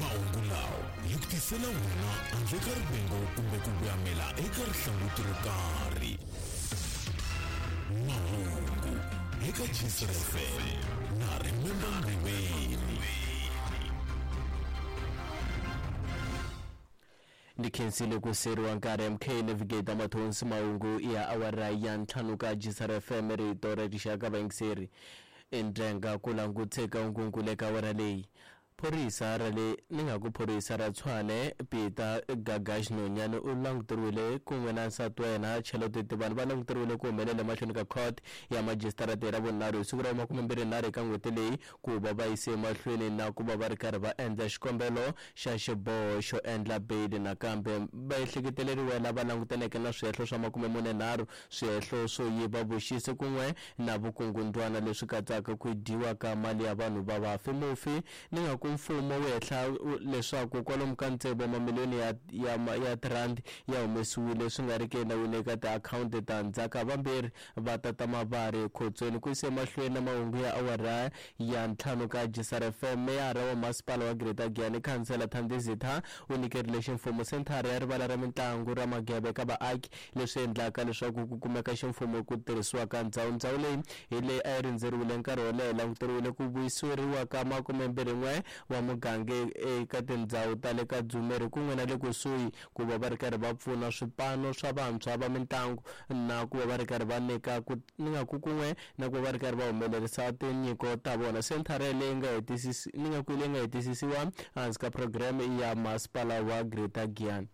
Mahungu lawa hi ku tisela wona handle ka rivengo kumbe ku voyamela eka rihlanguti ro karhi. Mahungu eka Jisr FM na Remember Mriveni. Ndi khensile ku seriwa nkarhi MK Navigator Mathonsi mahungu ya awara ya ntlhanu ka Jisr FM rito ra rixaka vayingiseri endlenga ku languteka nkunku eka awara leyi. Phorisa ra le ni nga ku phorisa ra Tshwane Peter Gagash Nonyane u languteriwile kun'we na nsati wa yena Charlotte Tibani va languteriwile ku humelela emahlweni ka court ya majisitarata hi Ravunharhu hi siku ra 23 eka n'hweti leyi ku va va yise emahlweni na ku va va ri karhi va endla xikombelo xa xiboho xo endla beyili. Nakambe vaehleketeleriwa lava langutaneke na swihehlo swa 43 swihehlo swo yiva vuxisi kun'we na vukungundwana leswi katsaka ku dyiwa ka mali ya vanhu va vafi. Mufi ni nga ku mfumo wu hehla leswaku kwalomu ka tsevu wa mamiliyoni ya ya ya tirhandi ya humesiwile swi nga ri ki enawini eka tiakhawunti ta ndzhaka. Vambirhi va tata mavari ekhotsweni. Ku yisa emahlweni na mahungu ya awara ya ntlhanu ka Jisar FM, meyara wa masipala wa Greater Giyani Khansela Thandi Zitha u nyikerile ximfumo senthara ya rivala ra mitlangu ra Magebe eka vaaki, leswi endlaka leswaku ku kumeka ximfumo ku tirhisiwa ka ndzhawu. Ndzhawu leyi hi leyi a yi rindzeriwile nkarhi wo leha, languteriwile ku vuyiseriwa ka 21 wa muganga eka tindhawu ta le ka Dzumeri kun'we na le kusuhi ku va va ri karhi va pfuna swipano swa vantshwa va mitlangu na ku va va ri karhi va nyika ku ni nga ku kun'we na ku va va ri karhi va humelerisa tinyiko ta vona. Senthara leyi nga hetisisi ni nga ku leyi nga hetisisiwa ehansi ka programme ya masipala wa Greater Giyani.